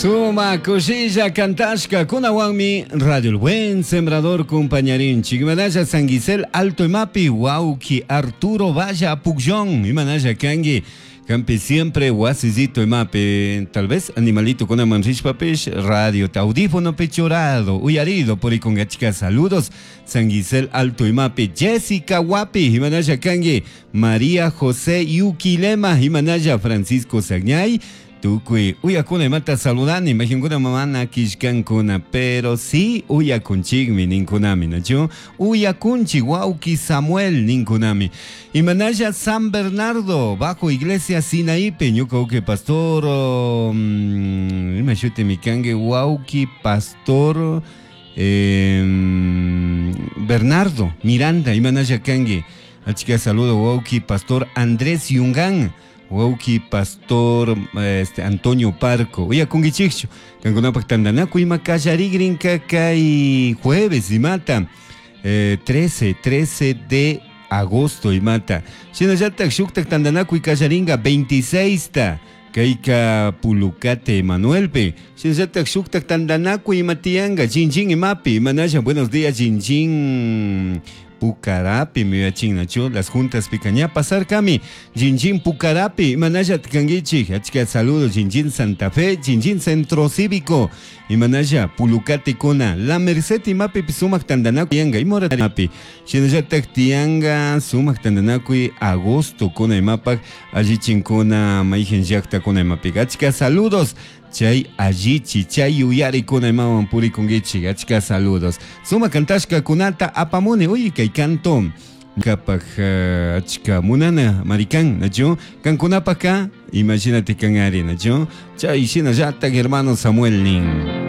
Suma kushilla kantashka kunawanmi Radio El Buen Sembrador compañarinchik. Imanalla San Gisel Alto Imapi wauki Arturo Valla Pugllón. Imanalla kanki kampi siempre wasillito imapi tal vez animalito kunaman rishpapish radio audífono churado uyarido purikungachika. Saludos San Gisel Alto Imapi Jessica Wapi imanalla kanki María José Yuquilema imanalla Francisco Sagñay tukuy uyakuna imata saludani imaginkuna mana kishkankuna pero sí uyakunchikmi ninkunami nachu uyakunchik wawki Samuel ninkunami imanalla San Bernardo bajo iglesia Sinaípe ñuka wawki pastor ima shutimi kanki wawki pastor Bernardo Miranda imanalla kanki achka saludo wawki pastor Andrés Yungán wawki pastor Antonio Parco. Uyakunkichikchu kankunapak tantanakuy ima kallarikrinka kay jueves imata 13 de agosto imata. Shinallatak shuktak tantanakuy kallarinka 26 ta kayka Pulucate Emanuelpe. Shinallatak shuktak tantanakuy ima tiyanka Chinchín imapi imanalla buenos días Chinchín Pucarapi miyachin las juntas picaña pasarkami Jinjin Pucarapi imanalla kankichik achka saludo Jinjin Santa Fe Jinjin Centro Cívico imanalla Pulucate kuna La Merced imapi sumak tantanakuy yanga imora imapi shinallatak tiyanga sumak tantanakuy agosto kuna imapak allichinkuna mayjin llaqtakuna imapi achka saludos chay allichi chay yuyarikuna imawan purikunkichik achka saludos suma kantashka kunata apamuni uy kay canto kapak achka munana marikan nachu kankunapaka imagínate kan ari nachu chay shinallatak hermano Samuel nin.